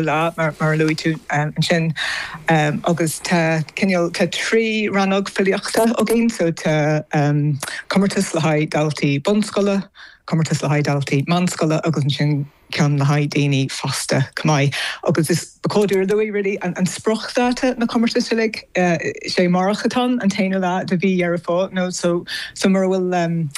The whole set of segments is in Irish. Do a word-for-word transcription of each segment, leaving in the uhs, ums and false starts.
lá mar mar a luaigh tú ansin agus tá cineál tá trí rannóg filíochta againn so tá um, comórtas le haghaidh daltaí bunscoile, comórtas le haghaidh daltaí meánscoile agus ansin ceann le haghaidh daoine fásta chomh maith. Agus is cóidir luaigh really an, an spriocdháta na comórtas uilig uh, sé amárach atá an t-aonú lá de mhí Dheireadh Fómhair no so so mura bhfuil um,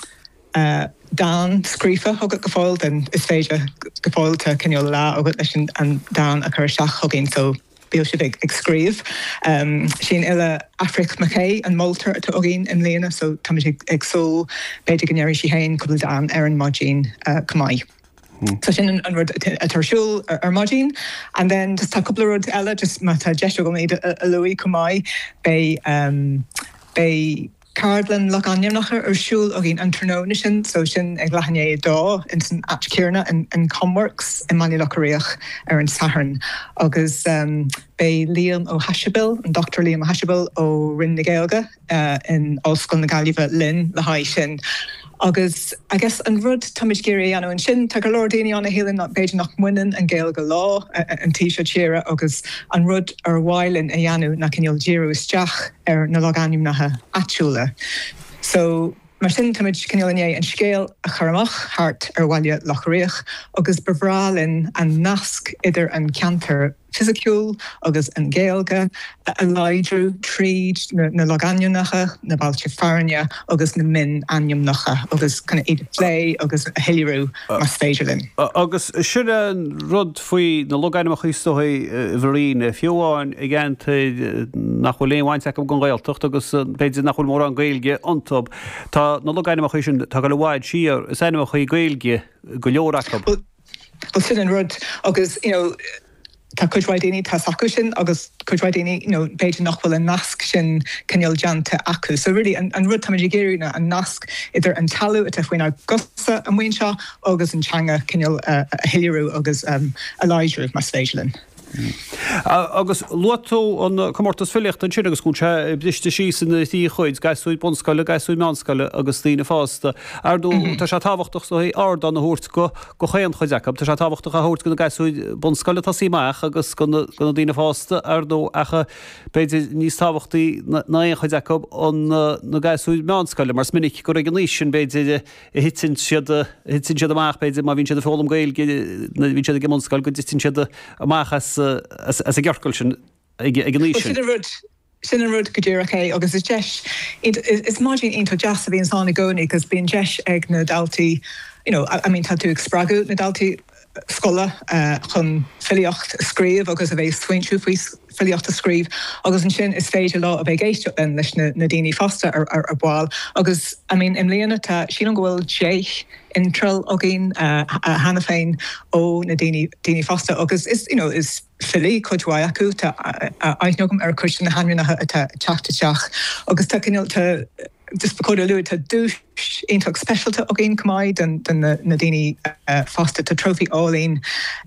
uh, dán scríofa agat go fóill den is féidir go fóill tá cineál lá agat leis an, an dán a chur isteach chugainn so bíodh sibh ag, ag scríobh. Um, Sin file Aifric McKay an moltóir atá againn i mbliana so tá ag, ag súil b'fhéidir go ndéarfaidh sí féin cúpla dán ar an maidin uh, chomh maith. So sin an, an rud atá ar siúl ar, ar maidin and then just tá cúpla rud eile just má tá deis agam iad a, a lua chomh maith beidh um, beidh Ceardlann logainmneacha ar siúl againn an tráthnóna sin so sin ag leath i ndiaidh a dó in san áit chéanna in, in Comworks i mBaile Locha Riach ar an Satharn agus um, beidh Liam Ó hAisibíl an Dr Liam Ó hAisibíl ó Roinn na Gaeilge uh, in Ollscoil na Gaillimhe linn le haghaidh sin. Agus I guess an rud táimid ag iarraidh a dhéanamh ansin tá go leor daoine ann a shíleann b'fhéidir nach mbaineann an Ghaeilge leo an taobh seo tíre agus an rud ar mhaith linn a dhéanamh ná cineál díriú isteach ar na logainmneacha áitiúla. So mar sin táimid cineál inné an scéal a chur amach thart ar Bhaile Locha Riach agus ba bhreá linn an nasc idir an ceantar fisiciúil agus an Ghaeilge a láidriú tríd na, na logainmneacha, na bailte fearainn agus na mionainmneacha agus chun iad a phlé agus a shoiléiriú más féidir linn. Agus sin an rud faoi na logainmneacha is dóigh bhrín fiú amháin i gceantair nach bhfuil aon bhaint acu don Ghaeltacht agus b'fhéidir nach bhfuil mórán Gaeilge iontu. Tá na logainmneacha sin tá go bhfad siar is ainmneacha Gaeilge go leor acu. Well sin an rud agus you know, tá cuid mhaith daoine tá acu sin agus cuid mhaith daoine you know, b'fhéidir nach bhfuil an nasc sin cineál déanta acu. So really an, an rud táimid ag iarraidh ná an nasc idir an talamh atá faoinár gcosa amuigh anseo agus an teanga cineál uh, a shoiléiriú agus um, a láidriú más féidir linn. Agus luaigh tú an comórtas filíochta ansin agus go sé briste síos ina thrí chuid, gasúir bunscoile, gasúir meánscoile agus daoine fásta. Ar ndóigh tá sé tábhachtach so ardán a thabhairt go go chaon chuid acu, Tá sé tábhachtach a thabhairt go na gasúir bunscoile tosaí amach agus go na daoine fásta ar ndóigh ach b'fhéidir níos tábhachtaí ná aon chuid acu an na gasúir meánscoile, mar is minic gur ag an aois sin b'fhéidir a thiteann siad a thiteann siad amach b'fhéidir má bhíonn siad ag foghlaim Gaeilge nuair a bhíonn siad ag an mbunscoil go dtiteann siad amach as as as an gciorcal sin ag ag an aois sin. Sin an rud sin an rud go díreach é agus is deis is maidin iontach deas a bhíonn ann i gcónaí agus bíonn deis ag na daltaí you know, I, I mean tá tú ag spreagadh na daltaí scoile uh, chun filíocht a scríobh agus a bheith smaointiú faoi filíocht a scríobh agus ansin is féidir leo a bheith ag éisteacht linn leis na, na daoine fásta ar, ar, ar ball agus I mean i mbliana tá sílim go bhfuil deich iontráil againn uh, cheana féin ó na daoine daoine fásta agus is you know, is filí cuid mhaith acu tá aithne agam ar chuid na hainmneacha atá teacht isteach agus tá cineál tá just ba chóir a lua tá duais iontach speisialta againn chomh maith den, den na, na daoine uh, fásta tá trophy álainn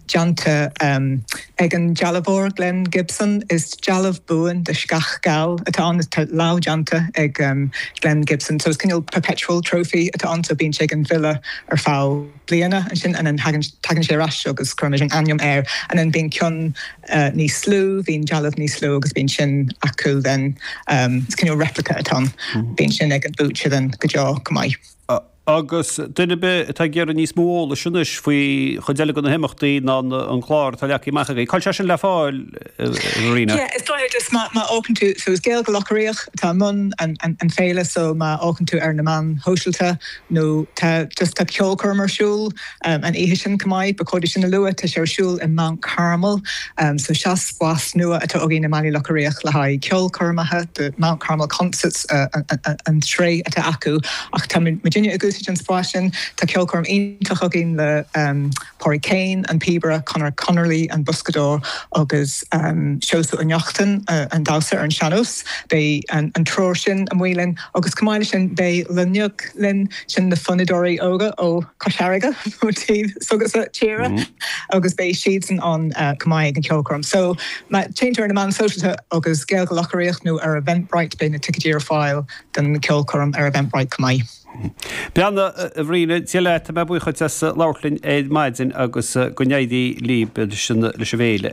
déanta um, ag an dealbhóir Glenn Gibson is dealbh buan de sceach geal atá ann tá lámhdhéanta ag um, Glenn Gibson so is cineál perpetual trophy atá ann so bíonn sé ag an bhfile ar feadh bliana ansin an tagann sé ar ais agus cuirimid an ainm air an an bíonn ceann uh, níos lú bíonn dealbh níos lú agus bíonn sin acu den um, is cineál replica atá ann mm. bíonn sin ag an buaiteoir den go deo chomh maith. Agus duine atá ag iarraidh níos mó eolais anois faoi chuid eile de na himeachtaí ná an clár atá leagtha amach agaibh. Cá bhfuil sé sin le fáil Ríona? Yeah, is dóigh just má má fhéachann tú so is Gaeilge Locha Riach tá mun an, an, an féile so má fhéachann tú ar na meáin shóisialta nó tá just tá ceolchoirm ar siúl um, an oíche sin chomh maith ba chóir sin a lua tá sé ar siúl in Mount Carmel um, so seo spás nua atá againn i mBaile Locha Riach le haghaidh ceolchoirmeacha the Mount Carmel concerts uh, an, an, an tréith atá acu ach tá muidinne ag úsáid an spás sin tá ceolchoirm iontach againn le um, Pádraig Kane an píobaire Conor Connerly an boscadóir agus um, Seosamh Ó Neachtain uh, an damhsa ar an sean-nós beidh an, an triúr sin amuigh linn agus chomh maith sin beidh Loinneog linn sin na fonnadóirí óga ó Chois Fharraige ó taobh s'agatsa tíre mm. agus beidh siadsan ann uh, chomh maith ag an ceolchoirm. So má théann tú ar na meáin shóisialta agus Gaeilge Locha Riach nó ar Eventbrite beidh na ticéid ar fáil den ceolchoirm ar Eventbrite chomh maith. Beanna a Bhriain Dia leat tá mé buíoch as labhairt linn ar maidin agus go n-éirí libh leis an bhféile.